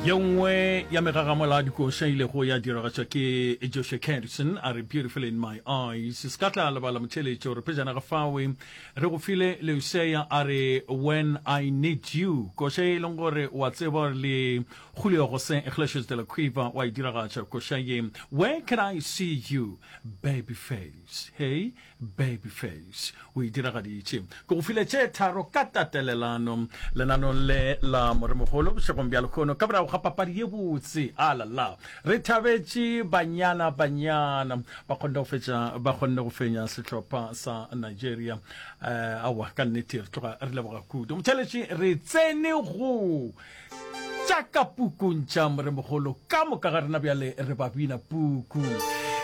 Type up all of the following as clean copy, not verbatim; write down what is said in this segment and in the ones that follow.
Ye nngwe ya megagamola ya dikoša e ilego ya diragatšwa ke Joshua Kadison a re Beautiful in My Eyes. Se ka tla lebala motheeletši gore pejana ga fawe re go file Leusea a re When I Need You. Koša ye e leng gore wa tseba gore le Julio Jose Iglesias de la Cueva wa e diragatša koša ye Where Can I See You Baby Face. Hey Baby Face o e diragaditše. Ke go file tše tharo ka tatelelano lenanong le la Moremogolo bošegong bja lehono ka morago ga papadi ye botse. Alala, re thabetše Banyana Banyana ba kgonne go fetša ba kgonne go fenya sehlopha sa Nigeria. Eh, aowa, ka nnete re tloga re leboga kudu. Motheeletši, re tsene go Tša ka pukung tša Moremogolo ka moka ga rena bjale re ba bina puku.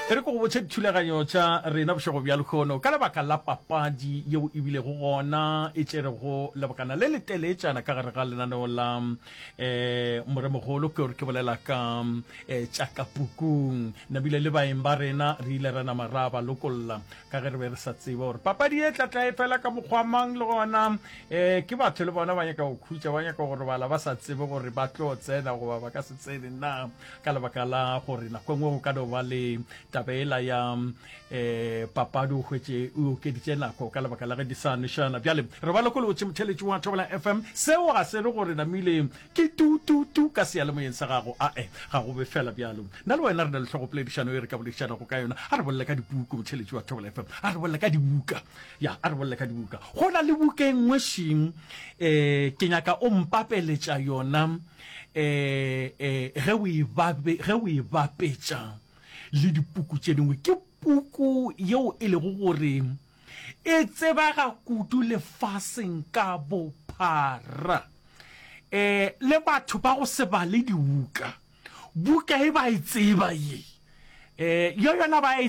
E re ke go botše dithulaganyo tša rena bošego bja lehono. Ka lebaka la papadi yeo e bilego gona e tšerego lebakana le leteletšana ka gare ga lenaneo la um Moremogolo, ke gore ke bolela ka um tša ka pukung. Nabile le baeng ba rena re ile ra nama ra ba lokolla ka ge re be re sa tsebe gore papadi e tla tla e fela ka mokgwa mang le gona um ke batho le bona ba nyaka go khutša ba nyaka go robala ba sa tsebe gore ba tlo tsena goba ba ka se tsene na ka lebaka la gore nako e nngwe go ka no ba le taba ela ya um papadi o hwetše o okeditše nako ka lebaka la ge di sa nwešana bjale re ba lokolotše motheletši wa Thobela FM seo ga se re gore namile Ke tu, tu, tu ka seyalemoyeng sa gago. Ae, ga go be feela bjalo. Nna le wena re na le hlogopoledišano ye re ka boledišanago ka yona. A re bolele ka dipuku, motheeletši wa Thobela FM. A re bolele ka dibuka. Ya, a re bolele ka dibuka. Go na le buka e nngwe šing, eh, ke nyaka o mpapeletša yona, eh, eh, ge o e bape, ge o e bapetša le dipuku tše dingwe. Ke puku yeo e lego gore e tsebega kudu lefaseng ka bophara. E, le batho ba go se bale dibuka, buka e ba e tseba ye. E, yo yona ba e.